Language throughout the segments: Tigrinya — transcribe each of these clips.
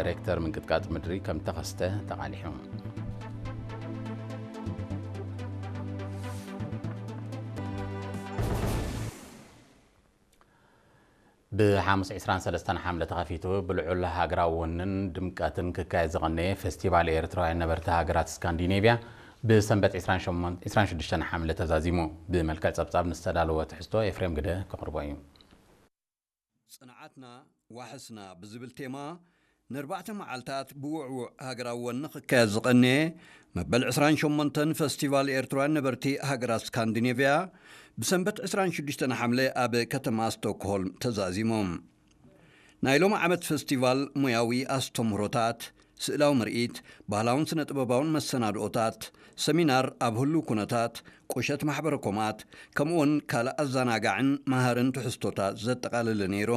ሬክተር ምንቅጥቃጥ ምድሪ ከም ተኸስተ ተቓሊሑ። ብሓሙስ ዕስራን ሰለስተን ሓምለ ተኸፊቱ ብልዑል ሃገራዊ ወንን ድምቀትን ክካየድ ዝቐነየ ፌስቲቫል ኤርትራውያን ነበርቲ ሃገራት ስካንዲኔቭያ ብሰንበት ዕስራን ሸሞንተን፣ ዕስራን ሽዱሽተን ሓምለ ተዛዚሙ። ብመልክዕ ጸብጻብ ንዝተዳለወ ትሕዝቶ ኤፍሬም ግደ ከቕርቦ እዩ። ጽንዓትና ዋሕስና ብዝብል ቴማ ንኣርባዕተ መዓልታት ብውዕዉዕ ሃገራዊ ወኒ ክካየድ ዝቐነየ መበል ዕስራን ሸሞንተን ፈስቲቫል ኤርትራውያን ነበርቲ ሃገራት ስካንዲኔቭያ ብሰንበት ዕስራን ሽዱሽተን ሓምለ ኣብ ከተማ ስቶክሆልም ተዛዚሞም። ናይ ሎሚ ዓመት ፈስቲቫል ሞያዊ ኣስተምህሮታት፣ ስእላዊ ምርኢት፣ ባህላውን ስነ ጥበባውን መሰናድኦታት፣ ሰሚናር ኣብ ህሉው ኩነታት፣ ቁሸት ማሕበረ ኮማት፣ ከምኡውን ካልእ ኣዘናጋዕን መሃርን ትሕዝቶታት ዘጠቓለለ ነይሩ።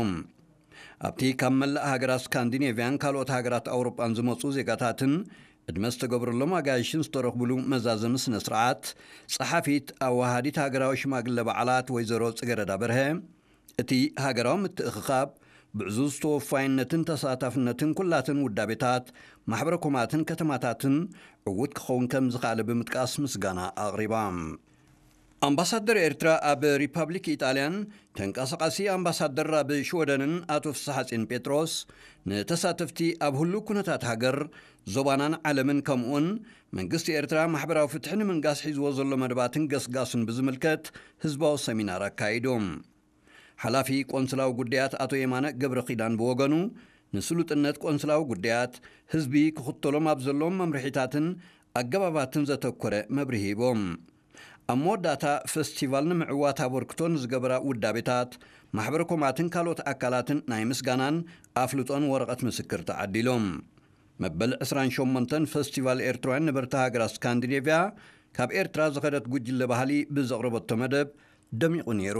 ኣብቲ ካብ መላእ ሃገራት ስካንዲኔቭያን ካልኦት ሃገራት ኣውሮጳን ዝመጹ ዜጋታትን ዕድመ ዝተገብረሎም ኣጋይሽን ዝተረኽብሉ መዛዘሚ ስነ ስርዓት፣ ጸሓፊት ኣወሃዲት ሃገራዊ ሽማግለ በዓላት ወይዘሮ ጽገረዳ በርሀ፣ እቲ ሃገራዊ ምትእኽኻብ ብዕዙዝ ተወፋይነትን ተሳታፍነትን ኩላትን ውዳቤታት፣ ማሕበረ ኮማትን ከተማታትን ዕዉት ክኸውን ከም ዝኸኣለ ብምጥቃስ ምስጋና ኣቕሪባ። ኣምባሳደር ኤርትራ ኣብ ሪፓብሊክ ኢጣልያን ተንቀሳቓሲ ኣምባሳደር ኣብ ሽወደንን ኣቶ ፍስሓጼን ጴጥሮስ ንተሳተፍቲ ኣብ ህሉው ኩነታት ሃገር፣ ዞባናን ዓለምን ከምኡውን መንግስቲ ኤርትራ ማሕበራዊ ፍትሒ ንምንጋስ ሒዝዎ ዘሎ መደባትን ገስጋሱን ብዝምልከት ህዝባዊ ሰሚናር ኣካይዶም። ሓላፊ ቆንስላዊ ጉዳያት ኣቶ የማነ ገብረ ኪዳን ብወገኑ፣ ንስሉጥነት ቆንስላዊ ጉዳያት ህዝቢ ክኽተሎም ኣብ ዘለዎም መምርሒታትን ኣገባባትን ዘተኮረ መብርሂ ሂቦም። ኣብ መወዳእታ፣ ፈስቲቫል ንምዕዋት ኣበርክቶ ንዝገበራ ውዳቤታት፣ ማሕበረ ኮማትን ካልኦት ኣካላትን ናይ ምስጋናን ኣፍልጦን ወረቐት ምስክር ተዓዲሎም። መበል ዕስራን ሸሞንተን ፈስቲቫል ኤርትራውያን ነበርቲ ሃገራት ስካንዲኔቭያ ካብ ኤርትራ ዝኸደት ጉጅለ ባህሊ ብዘቕረበቶ መደብ ደሚቑ ነይሩ።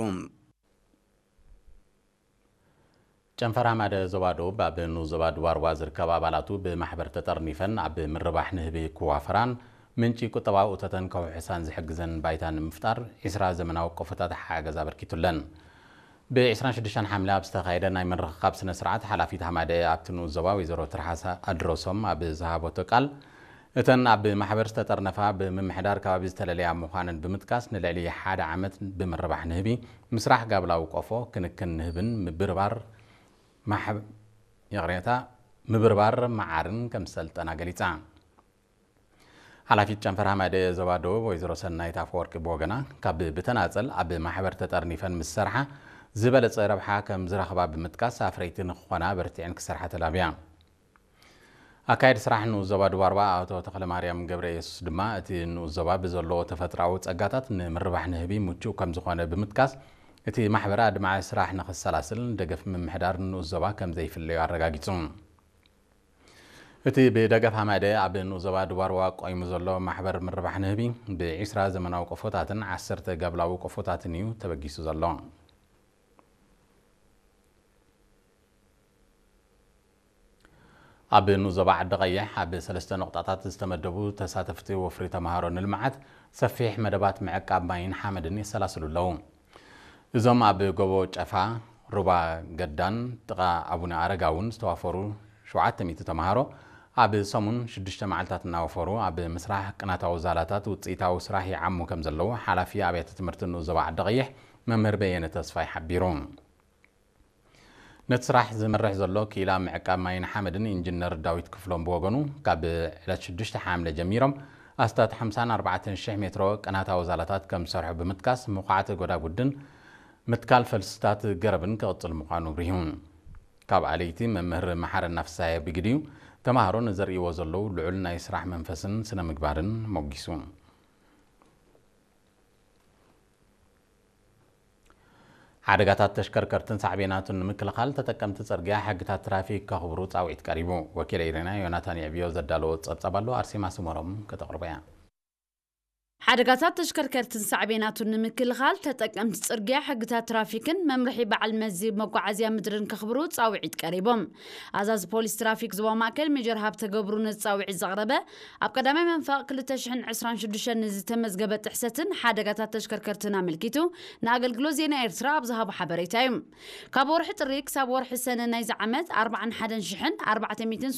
ጨንፈር ሃማደ ዞባ ደቡብ ኣብ ንኡስ ዞባ ድባርዋ ዝርከባ ኣባላቱ ብማሕበር ተጠርኒፈን ኣብ ምርባሕ ንህቢ ክዋፈራን ምንጪ ቁጠባዊ እቶተን ከውሕሳን ዝሕግዘን ባይታ ንምፍጣር ዕስራ ዘመናዊ ቆፎታት ሓገዝ ኣበርኪቱለን። ብ ዕስራን ሽዱሽተን ሓምለ ኣብ ዝተኻየደ ናይ ምርኽኻብ ስነ ስርዓት ሓላፊት ሃማደ ኣብቲ ንኡስ ዞባ ወይዘሮ ትርሓስ ኣድረሶም ኣብ ዝሃበቶ ቃል፣ እተን ኣብ ማሕበር ዝተጠርነፋ ብምምሕዳር ከባቢ ዝተለለያ ምዃነን ብምጥቃስ፣ ንልዕሊ ሓደ ዓመት ብምርባሕ ንህቢ፣ ምስራሕ ጋብላዊ ቆፎ፣ ክንክን ንህብን ምብርባር ማሕብ-፣ ይቕሬታ፣ ምብርባር መዓርን ከም ዝሰልጠና ገሊጻ። ሓላፊት ጨንፈር ሃማደ ዞባ ደቡብ ወይዘሮ ሰናይት ኣፈወርቂ ብወገና፣ ካብ ብተናጸል ኣብ ማሕበር ተጠርኒፈን ምስ ሰርሓ ዝበለጸ ረብሓ ከም ዝረኽባ ብምጥቃስ፣ ኣፍረይቲ ንክኾና በርቲዐን ክሰርሓ ተላብያ። ኣካየዲ ስራሕ ንኡስ ዞባ ድባርዋ ኣቶ ተኽለማርያም ገብረ ኢየሱስ ድማ፣ እቲ ንኡስ ዞባ ብዘለዎ ተፈጥሮኣዊ ጸጋታት ንምርባሕ ንህቢ ምቹእ ከም ዝኾነ ብምጥቃስ፣ እቲ ማሕበር ኣድማዒ ስራሕ ንኽሰላስል ደገፍ ምምሕዳር ንኡስ ዞባ ከም ዘይፍለዮ ኣረጋጊጹ። እቲ ብደገፍ ሃማደ ኣብ ንኡስ ዞባ ድባርዋ ቆይሙ ዘሎ ማሕበር ምርባሕ ንህቢ፣ ብዕስራ ዘመናዊ ቆፎታትን ዓሰርተ ጋብላዊ ቆፎታትን እዩ ተበጊሱ ዘሎ። ኣብ ንኡስ ዞባ ዓዲ ቀይሕ ኣብ ሰለስተ ነቑጣታት ዝተመደቡ ተሳተፍቲ ወፍሪ ተምሃሮ ንልምዓት ሰፊሕ መደባት ምዕቃብ ማይን ሓመድን የሰላስሉ ኣለዉ። እዞም ኣብ ጎቦ ጨፋ፣ ሩባ ገዳን ጥቓ ኣቡነ ኣረጋውን ዝተዋፈሩ ሸውዓተ ሚእቲ ተምሃሮ፣ ኣብ ሰሙን ሽዱሽተ መዓልታት እናወፈሩ ኣብ ምስራሕ ቅናታዊ ዛላታት ውፅኢታዊ ስራሕ ይዓሙ ከም ዘለዉ ሓላፊ ኣብያተ ትምህርቲ ንኡስ ዞባ ዓዲ ቀይሕ መምህር በየነ ተስፋይ ሓቢሩ። ነቲ ስራሕ ዝመርሕ ዘሎ ክኢላ ምዕቃብ ማይን ሓመድን ኢንጂነር ዳዊት ክፍሎም ብወገኑ፣ ካብ ዕለት ሽዱሽተ ሓምለ ጀሚሮም ኣስታት ሓምሳን ኣርባዕተን ሽሕ ሜትሮ ቅናታዊ ዛላታት ከም ዝሰርሑ ብምጥቃስ፣ ምኹዓት ጎዳጉድን ምትካል ፈልስታት ገረብን ክቕጽል ምዃኑ ኣብሪሁ። ካብ ኣለይቲ መምህር መሓረና ፍስሃየ ብግዲኡ፣ ተምሃሮ ንዘርእይዎ ዘለዉ ልዑል ናይ ስራሕ መንፈስን ስነ ምግባርን ሞጊሱ። ሓደጋታት ተሽከርከርትን ሳዕቤናቱን ንምክልኻል፣ ተጠቀምቲ ጽርግያ ሕግታት ትራፊክ ከኽብሩ ጻውዒት ቀሪቡ። ወኪል ኤሪና ዮናታን የዕብዮ ዘዳለዎ ጸብጻብ ኣሎ፣ ኣርሴማ ስመሮም ከተቕርቦ እያ። ሓደጋታት ተሽከርከርትን ሳዕቤናቱን ንምክልኻል፣ ተጠቀምቲ ጽርግያ ሕግታት ትራፊክን መምርሒ በዓል መዚ መጓዓዝያ ምድርን ከኽብሩ ጻውዒት ቀሪቦም። ኣዛዚ ፖሊስ ትራፊክ ዞባ ማእከል ሜጀር ሃብተ ገብሩ ነዚ ጻውዒት ዘቕረበ፣ ኣብ ቀዳማይ መንፈቕ ክልተ ሽሕን ዕስራን ሽዱሽተን ንዝተመዝገበ ጥሕሰትን ሓደጋታት ተሽከርከርትን ኣመልኪቱ ንኣገልግሎት ዜና ኤርትራ ኣብ ዝሃቦ ሓበሬታ እዩ። ካብ ወርሒ ጥሪ ክሳብ ወርሒ ሰነ ናይዚ ዓመት ኣርባዓን ሓደን ሽሕን ኣርባዕተ ሚእትን